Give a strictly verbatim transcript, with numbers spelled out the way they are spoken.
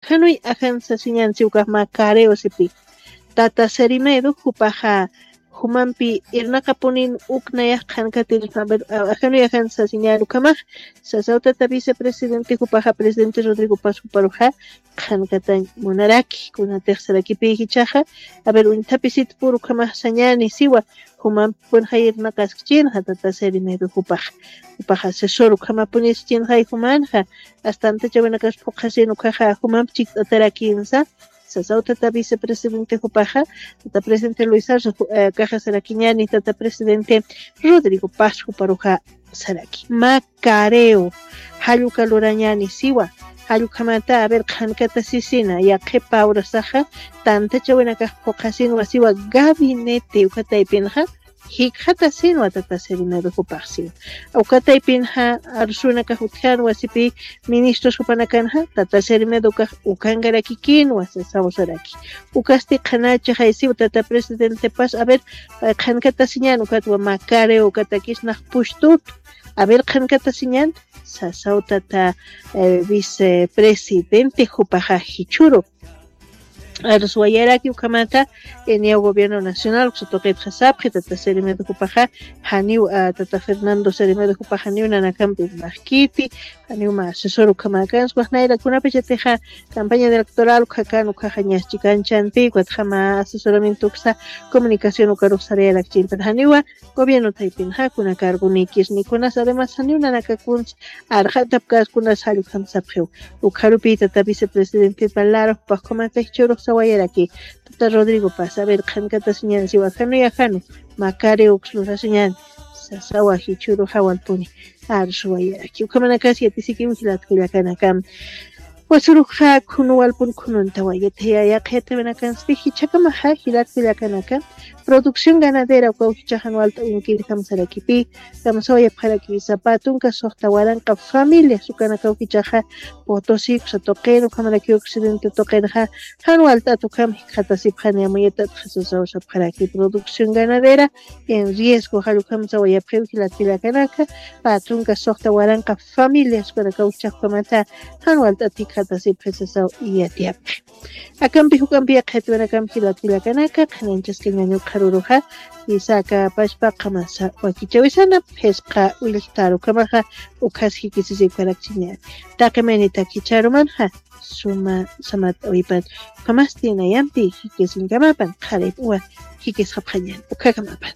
Ajanuy ajan sasiñan si ukax mä Careo sipi. Tata Serimedo jupaxa jumampi irnaqapunin uk nayax qhankatir, a ver, a-, ajanuy ajan sasiñan ukhamax, sasaw tata vicepresidente jupaxa, presidente Rodrigo Paz juparuxa qhankatañ munaraki, kunatix sarakipï jichhaxa, a ver, uñthapisit pur ukhamax sañani siwa, jumampi punxay irnaqaskchinxa tata Serimedo jupaxa, jupaxa asesor ukhamapunis chinxay jumanxa, hasta antachawinakas phuqhasin ukhaxa jumampi chikt'atarakinsa, sasaw tata vicepresidente jupaxa, tata presidente Luis Arce ju-, eh, kaxa sarakiñani, tata presidente Rodrigo Paz juparuxa saraki. Mä Careo, jall uka lurañani siwa, jall ukhamata, a ver, qhankata sisina, yaqhipa urasaxa, tantachawinakax phuqhasinwa siwa, gabinete uka taypinxa, jikxatasinwa tata Serimedo jupax siwa. Uka taypinxa, arsuwinakax utjänwa sipi, ministros jupanakanxa, tata Serimedo ukax ukankarakikinwa, sasaw saraki. Ukasti qhanachaxay siwa tata presidente Paz, a ver, eh, qhankatasiñan ukatwa mä Careo ukatakis nax pushtutu. A ver, qhankatasiñan, sasaw tata, eh, vicepresidente jupaxa jichhüru. Arsuwayaraki ukhamata, eh, niya gobierno nacional, uksa tuqitxa sapxi, tata Serimedo jupaxa, janiw, ah, tata Fernando Serimedo jupaxa janiw nanakampi irnaqkiti, janiw mä asesor ukhamäkans, wax nayra kunapachatixa campaña electoral ukhakan, ukhaxa ñas chikan chanti, ukatxa mä asesoramiento uksa comunicación ukarux sarayarakchin, pero janiwa gobierno taypinxa kuna cargonikis ni kunas, además janiw nanakakuns arxatapkäs kunas, jall ukham sapxiw. Ukxarupi tata vicepresidente Lara jupax ukhamata jichhürux sawayaraki, tata Rodrigo Paz, a ver, qhankatasiñan siwa, ajanuy ajanu, mä Careo uks lurasiñan, sasawa jichhürux jawalpuni arsuwayaraki. Ukhamanakas yatisikiw jilat kullakanaka. Wasuruxa khunu walpun khununtawa, yatiyaya qhiyatawinakansti jichhakamaxa jilat kullakanaka, producción ganadera ukaw jichhax jan walt'awinkir kamsarakipï, kamsawayapxarakipï sapa tunka suxta waranqa familias ukanakaw jichhaxa Potosí uksa tuqin, ukhamarakiw occidente tuqinxa, jan walt'at ukham jikxatasipxani, amuyatatxa sasaw sapxaraki producción ganadera en riesgo, jall ukham sawayapxiw jilat kullakanaka, pä tunka suxta waranqa familias ukanakaw jichhax ukhamata, jan walt'at jikxatasipxi sasaw yatiyapxi. Akampi juk'ampi yaqhitwinakam jilat kullakanaka, qhanañchaskañäni ukxaruruxa, jisa aka pachpa qamasa wakichawisana, phisqa willxtar ukhamaxa, ukhas jikisisipkarakchiñäni. Taqi maynitak jichhärumanxa, suma samat awipan, ukhamasti nayampi jikisinkamapan, qharip uwa jikisxapxañäni, ukhakamapan.